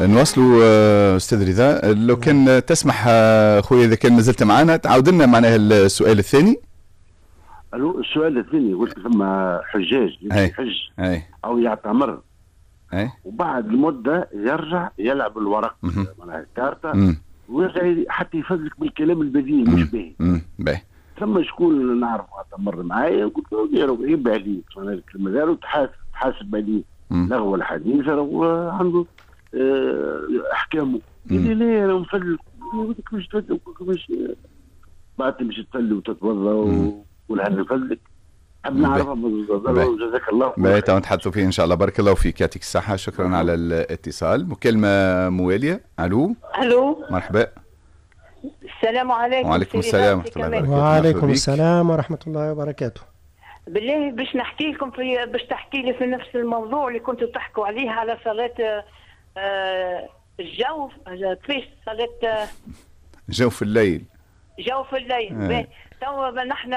نواصلوا استاذ رضا، لو كان تسمح خويا، اذا كان مازلت معنا تعاود لنا معناها السؤال الثاني. الو، السؤال الثاني قلت ثم حجاج يحج او يعتمر وبعد المدة يرجع يلعب الورق، معناها الكارتة، ويرجع حتى يفزلك بالكلام البذيء مش باهي. باهي. ثم شكون نعرف اعتمر معايا، قلت له عيب عليك معناها الكلمة هذا، تحاسب عليه لغو الحديث راهو عنده احكامه. قال لي لا، انا مفلك. قلت كيفاش تفلك؟ كيفاش بعد تمشي تصلي وتتوضا ولا نفلك؟ حاب نعرفها، جزاك الله. باهي، تو نتحدثوا فيه ان شاء الله. بارك الله فيك، يعطيك الصحة، شكرا على الاتصال. مكالمة موالية، الو. الو. مرحبا. السلام عليكم. وعليكم السلام ورحمة الله وبركاته. وعليكم السلام ورحمة الله وبركاته. بالله باش نحكي لكم في باش تحكي لي في نفس الموضوع اللي كنتوا تحكوا عليه على صلاة الجوف، كيفاش صلاة جوف الليل. جوف الليل. تو نحن